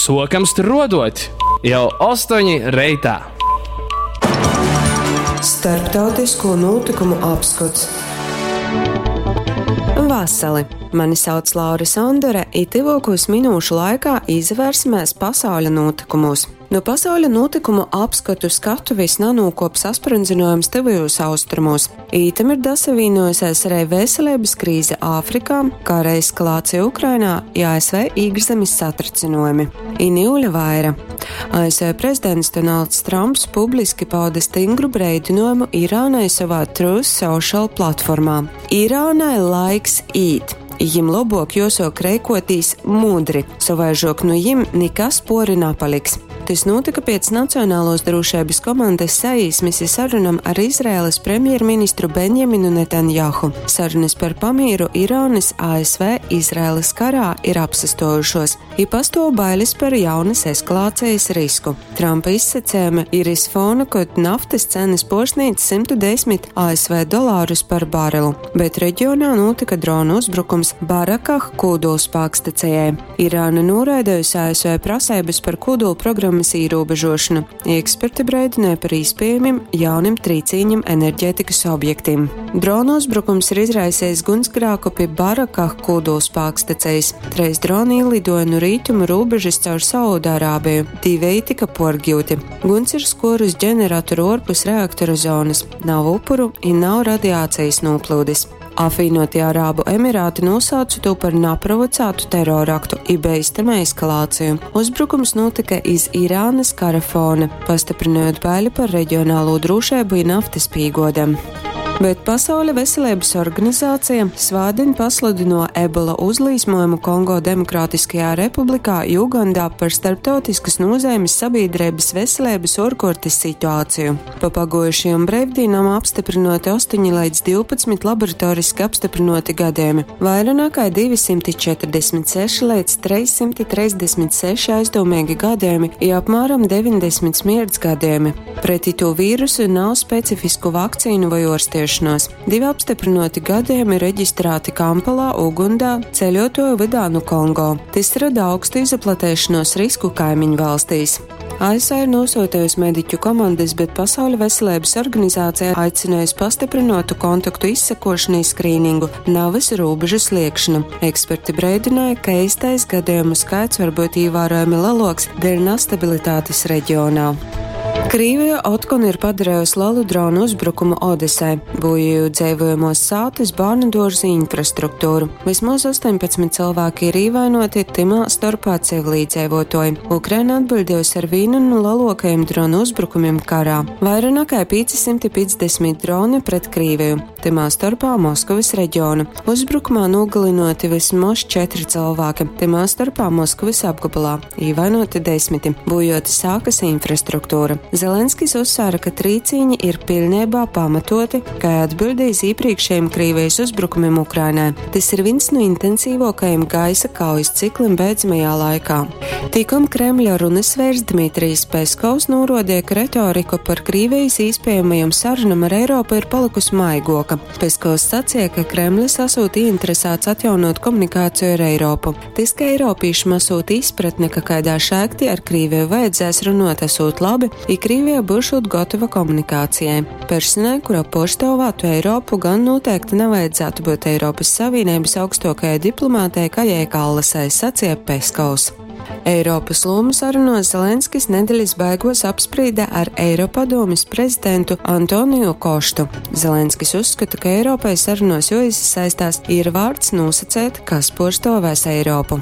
Suokam struoduot jau 8 reitā! Starptautisko nūtykumu apskots. Vasali! Mani sauc Laura Sondore, i tyvuokūs minūšu laikā izavērsimēs pasauļa nūtykumūs. Nu pasauļa nūtykumu apskotu skatuvis nanūkuop saspryndzynuojums Tyvajūs Austrumūs. Ītam ir dasavīnuojusies arī veselības krīze Āfrikā, kara eskalācija Ukrainā i ASV īkšzemis satricynuojumi. I niule vaira. ASV prezidents Donalds Trumps publiski pauda stingru breidynuojumu Irānai sovā Truth Social platformā. Irānai laiks īt! Jim lobuok juosuok reikuotīs mudri, sovaižuok nu jim nikas puori napaliks. Tys nūtyka piec Nacionaluos drūšeibys komandys saīsmis i sarunom ar Izraelys premjerministru Benjaminu Netanjahu. Sarunys par pamīru Irānys, ASV, Izraelys karā ir apsastuojušuos, i pastuov bailis par jaunys eskalācejis risku. Trampa izsacejumi ir iz fona, kod naftys cenys puorsnīdz 110 ASV dolārus par barelu, bet regionā nūtyka dronu uzbrukums Barakah kūdulspākstacejai. Irāna nūraidejusi ASV praseibys par kūdulprogramys īrūbežuošonu, i eksperti breidynoj par īspiejamim jaunim trīcīņim energetikys objektim. Dronu uzbrukums ir izraisejs guņsgrāku pi Barakah kūdulspākstacejis. Treis droni īliduoja nu rītumu rūbežys caur Saudārābeju, diveji tika puorgiuti. Guņs ir skuorus ģeneratoru uorpus reaktora zonys, nav upuru i nav radiacejis nūplyudis. Apvīnotie Arābu Emirāti nūsauca tū par naprovocātu teroraktu i beistama eskalāciju. Uzbrukums nūtyka iz Irānys kara fona, pastyprynojūt baili par regionalū drūšeibu i naftys pīguodem. Bet Pasauļa veseleibys organizācija svātdiņ pasludynuo Ebola uzlīsmojumu Kongo Demokrātiskajā Republikā i Ugandā par starptautiskys nūzeimis sabīdreibys veseleibys uorkuortys situāciju. Pa paguojušajom breivdīnom apstyprynuoti 8 leidz 12 laboratoriski apstyprynuoti gadejumi, vaira nakai 246 leidz 336 aizdūmeigi gadejumi i apmāram 90 smierts gadejumi. Pret itū vīrusu nav specifisku vakcīnu voi uorstiešonuos. Divi apstyprynuoti gadejumi registrāti Kampalā, Ugundā, ceļuotuoju vydā nu Kongo. Tys roda augstu izaplateišonuos risku kaimiņvalstīs. ASV ir nūsyutejusi mediķu komandys, bet Pasauļa veseleibys organizācija aicinājusi pastyprynuotu kontaktu izsekošanu i skrīningu, navys rūbežu sliegšanu. Eksperti breidināja, ka eistais gadejumu skaits var byut īvārojami leluoks dēļ nastabilitātes reģionā. Krīvija otkon ir padarejusi lelu dronu uzbrukumu Odesai, bojājot dzeivojamuos sātys, bārnuduorzu infrastruktūru. Vismoz 18 cylvāki ir īvainoti, tymā storpā civilīdzeivuotuoji. Ukraina atbiļdējusi ar vīnu nu leluokajim dronu uzbrukumim karā. Vaira nakai 550 droni pret Krīviju, tymā storpā Moskovys reģionu. Uzbrukumā nūgalynuoti vysmoz četri cylvāki, tymā storpā Moskovys apgobolā, īvainoti desmiti, būjuota sākas infrastruktūra. Zelenskis uzsvēra, ka trīcīņi ir piļneibā pamatoti, kai atbiļde iz īprīkšejim Krīvijas uzbrukumim Ukrainai. Tys ir vins nu intensīvuokajim gaisa kaujas ciklim beidzamajā laikā. Tikom Kremļa runysveirs Dmitrijs Peskovs nūruodeja, ka retorika par Krīvijas īspiejamajom sarunom ar Eiropu ir palykusi maiguoka. Peskovs saceja, ka Kremlis asūt ieinteresāts atjaunot komunikāciju ar Eiropu. Tys, ka eiropīšim asūt izpratne, ka kaidā šēktī ar Krīviju vajadzēs runuot, asūt labi, i Krīvija byušūt gotova komunikācijai. Personai, kura puorstuovātu Eiropu, gan nūteikti navajadzātu byut Eiropys Savīneibys augstuokajai diplomātei Kajai Kallasai, saceja Peskovs. Eiropys lūmu sarunuos Zelenskis nedelis beiguos apsprīde ar Eiropadūmis prezidentu Antoniju Koštu. Zelenskis uzskata, ka Eiropai sarunuos juoizasaistās i ir vārts nūsaceit, kas puorstuovēs Eiropu.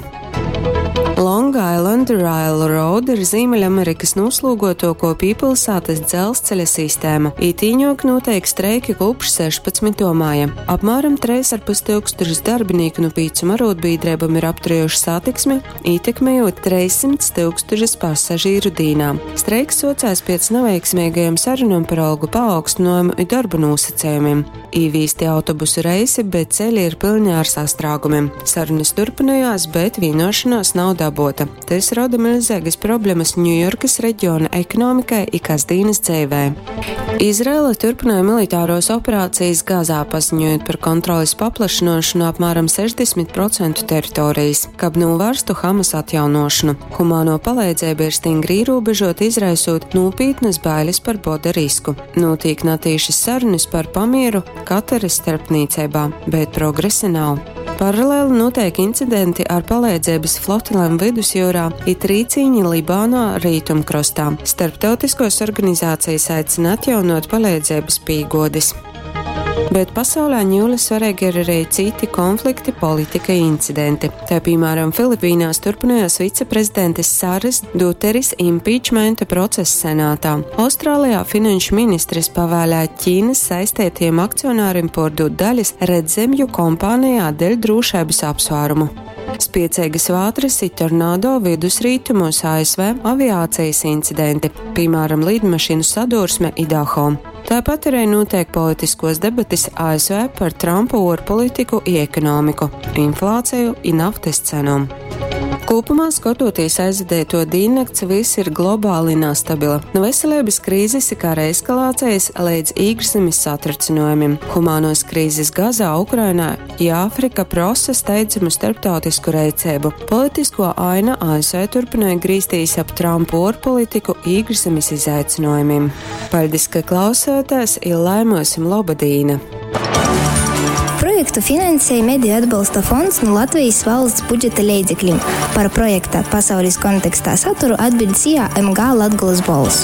Long Island Railroad ir Zīmeļamerikys nūslūguotuokuo pīpilsātys dzelzceļa sistēma. Itīņuok nūteik streiki kūpš 16. maja. Apmāram 3,5 tūkstošus darbinīku nu pīcom arūdbīdreibom ir apturējuši satiksmi, ītekmejot 300 tūkstošus pasažīru dīnā. Streiks suocēs piec naveiksmeigajom sarunom par algu paaugstynuojumu i dorba nūsacejumim. Īvīsti autobusu reisi, bet ceļi ir pilni ar sastrēgumiem. Sarunas turpinājās, bet vienošanās nav dabota. Tas rada milzīgas problemas Ņujorkas reģiona ekonomikai i kasdīnas dzeivē. Izraela turpināja militāros operācijas Gazā, paziņojot par kontroles paplašināšanu apmēram 60% teritorijas, kab novērstu Hamas atjaunošanu. Humāno palīdzība ir stingri ierobežota, izraisot nopietnas bailes par boda risku. Notiek natīšas sarunas par pamieru Kataras starpniecībā, bet progresa nav. Paralēli notiek incidenti ar palīdzības flotilēm vidusjūrā, it rīcīņi Libānā rītumkrostā. Starptautiskos organizācijas aicina atjaunot palīdzības pīgodis. Bet pasaulē ņūle svarīgi ir arī citi konflikti, politika incidenti. Tā piemēram, Filipīnās turpinājās viceprezidentes Saras Duteris impeachmenta process senātā. Austrālijā finanšu ministres pavēlēja Ķīnas saistētiem akcionāriem pārdot daļas redzemju kompānijā dēļ drošības apsvērumu. Spiecīgas vātras i tornado vidusrītumos ASV aviācijas incidenti, piemēram, lidmašīnu sadursme Idaho. Tāpat arī notiek politiskos debatis ASV par Trumpa ārpolitiku i ekonomiku, inflāciju i naftas cenām. Kopumā skatoties aizvadīto diennakts, viss ir globāli nestabila. No veselības krīzes i kara eskalācijas līdz iekšzemes satricinājumiem. Humānos krīzes Gazā, Ukrainā i Āfrika prosa steidzamu starptautisku rēcību. Politisko aina ASV turpināja grīstīs ap Trumpu ārpolitiku iekšzemes izaicinājumiem. Paldies, ka klausāties, i laimosim laba dīna! Projektu finansēja Mediju atbalsta fonds no Latvijas valsts budžeta leidzekļiem. Par projekta pasaules kontekstā saturu atbild SIA MG Latgulas Bols.